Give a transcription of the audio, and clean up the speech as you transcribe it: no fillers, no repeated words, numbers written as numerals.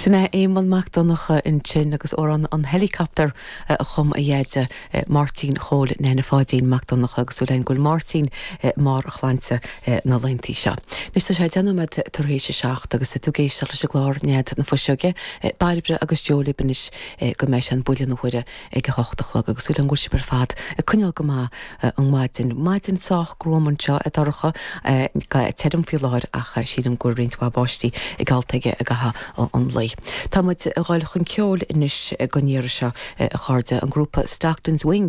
Sin é Éamonn Mac Donncha ansin agus amhrán an Helicopter a chum a dheaide Máirtín Chóil Neaine Pháidín Mac Donncha agus súil againn go bhfuil Máirtín i mbarr a shláinte na laethanta seo. Anois tá sé 10 nóiméad tar éis a 7 agus tú ag éisteacht leis an gclár Nead na Fuiseoige, Bairbre agus Joe libh anois go mbeidh sé an buille na huaire ag a hocht a chlog agus súil agam go bhfuil sibh ar fad ag coinneáil go maith an mhaidin. Maidin sách gruama anseo, é dorcha, tirim faoi láthair ach sílim go bhfuil roinnt mhaith báistí geallta aige i gcaitheamh an lae. Tá muid ag dul chun ceoil anois don iarraidh seo a chairde, an grúpa Stockton's Wing.